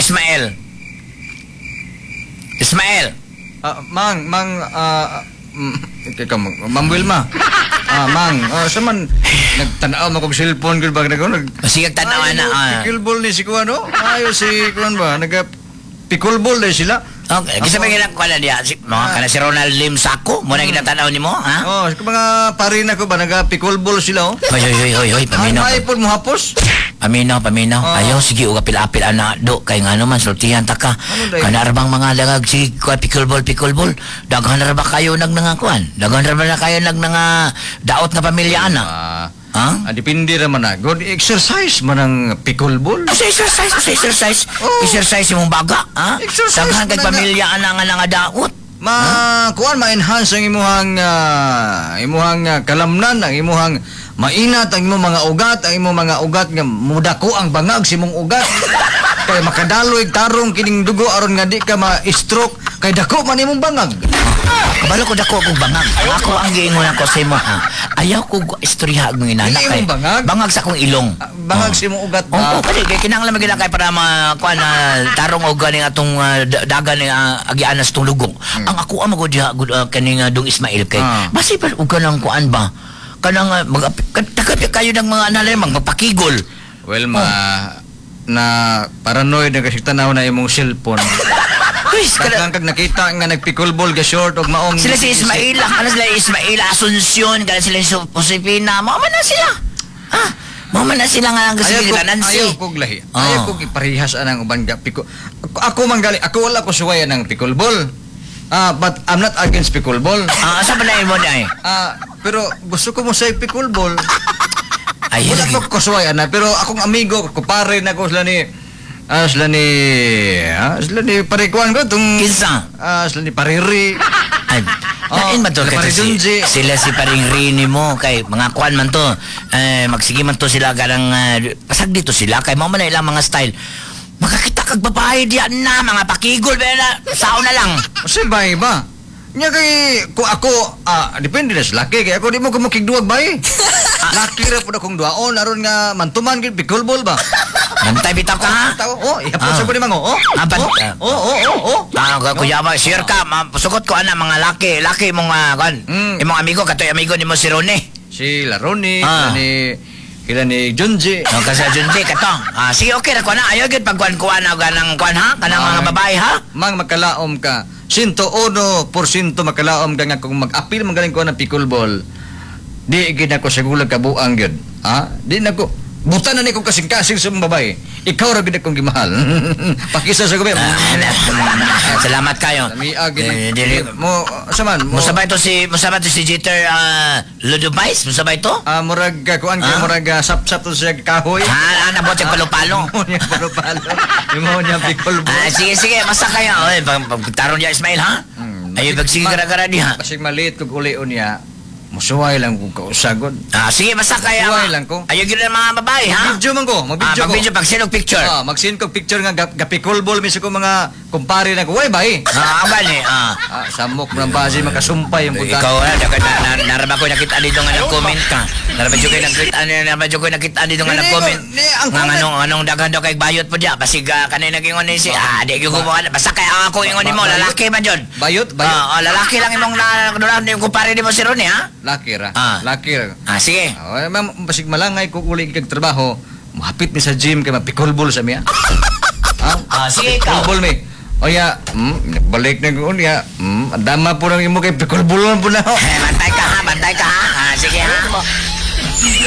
Ismael. Ismael. Ah, mang, mang, ikaw, Ma'am Wilma. Mang, sa man, nagtanaw mo kong cellphone, gud ba, nag, nag, Sige, tanawa na. Pickleball ni si Kuan, no? Ayo si Kuan ba, naga, pickleball na sila. Okay, kasi may ginang kuan na diya. Si, mga kana si Ronald Lim Sako, mo na ginatanaw nimo, ha? Oh, sa mga pare na ko ba, naga pickleball sila, oh. Hoy, hoy, hoy, hoy, hoy, Ay, paminaw. may po mo hapos. Paminaw, paminaw. Ah. Ayaw, sige, uga apil-apil ana do kay ngano man sultihan ta ka. Ano day? Kana ra bang mga dagag sige kuan pickleball, pickleball. Daghan ra ba kayo nag nangakuan? Daghan ra ba na kayo nag nga daot nga pamilya ana? Ha? Depende ra man na. Good exercise man ang pickleball. Sa exercise, sa exercise. Oh. Exercise imong baga, ha? Exercise Daghan kay man na. pamilya ana nga nga daot. Ma kuan, ma-enhance ang imuhang kalamnan, ang imuhang mainat ang imong mga ugat, ang imong mga ugat nga mudako ang bangag sa imong ugat. Kay makadaloy tarong kining dugo aron nga di ka ma-stroke kay dako man imong bangag. Kabalo ko dako akong bangag. Ang ako ang giingon ako sa imo, ha. Ayaw ko istorya ang inana Dili kay imong bangag? Bangag sa akong ilong. Bangag sa imong ugat Oo, ba? kani kay kinahanglan man kay para ma kuan na tarong og ganing atong dagan ni agian sa itong lugong. Ang ako ang magud diha gud kaning Dong Ismael kay basi pa og kanang kuan ba? Kanang mag kayo ng mga analay magpakigol. Well, ma na paranoid na kasi tanaw na imong cellphone. Uy, kana Daghan kag nakita nga nagpickleball ga short og maong sila si Ismaila, kana sila Ismaila Asuncion, kana sila si Josefina, mao man na sila. Ha? Mao man na sila nga ang Ayaw sige ko, Nancy. ayaw kog lahi. Ayaw kog iparehas anang uban ga piko. Ako man gali, ako wala ko suway anang pickleball. But I'm not against pickleball. Asa ba na imo di ay? Pero gusto ko mo sa pickleball. Ay, Wala lagi. ko kusuway ana, pero akong amigo, kupare na ko sila ni parikuan ko tong Kinsa? Sila ni Pariri. Ay, lain man to sila kay Paring si, Junji. sila si paring Rini mo kay mga kuan man to eh, magsige man to sila garang pasag dito sila kay mao man na ilang mga style makakita kag babae diyan na mga pakigol ba na sao na lang. Kasi bay ba? Nya kay ko ako depende na sa laki kay ako di mo ko makigduwag bay. Laki ra pud akong duwaon aron nga mantuman gid pickleball ba. Bantay bitaw ka, ha. Tao, oh, ihapon sa ko ni mango. Oh. Ban- Oh, oh. Kuya ba, sure ka, sukot ko ana mga laki, laki mong kuan. Imong amigo katoy amigo nimo si Rone. Si Laroni, sila ni Junji. No, kasi Junji kato. Sige, okay ra ko na. Ayaw gyud pagkuan kuan na ganang kuan ha, kanang mga babae ha. Mang makalaom ka. 101% makalaom ka nga kung mag-apil man galing ko ng pickleball. Di gid ako sa gulag kabuang gyud. Ha? Di na ko buta na ni kong kasing-kasing sa mga babae. Ikaw ra gid akong gimahal. Pakisa sa gabi. Salamat kayo. Lamiag gid. Eh, dili Mo sa man mo. Musabay to si Jeter Ludubais, musabay to? Murag kuan kay murag sap-sap to siya kahoy. Nabot yung palo-palo. Mo niya palo-palo. Imo niya pickleball. Sige, sige, basta kayo. Oy, pag taron niya Ismail ha. Ayo pag sige gara-gara diha. Basig maliit kog ulion niya. Musuway lang kung kausagod. Sige, basta kaya. Suway lang ko. Ayaw gyud ang mga babae ha. Video man ko, mag-video ko. Mag-video pag sino picture. Mag-send ko picture nga gapickleball mi sa ko mga kumpare na ko. Way bay. Bali. Samok ng base makasumpay yung buta. Ikaw na, naraba ko nakita dito nga nag-comment ka. Naraba ko nakita, naraba ko nakita dito nga Hindi, nag-comment. hindi, ang Nga comment- anong daghan daw kay bayot po diya. Basig kanay nag-ingon ni si di gyud ko mo basta kay ang ako ingon nimo lalaki man jud. Bayot, bayot. Lalaki lang imong na yung kumpare nimo si Ronnie ha. Laki ra. Laki ra. Sige. Ma'am, basig malangay ko uli kag trabaho, mohapit mi sa gym kay mapickleball sa miya. Sige ikaw. Pickleball mi. O ya, balik na ko niya. Dama po nang imo kay pickleball man po na. Eh, bantay ka ha, bantay ka ha. Sige ha.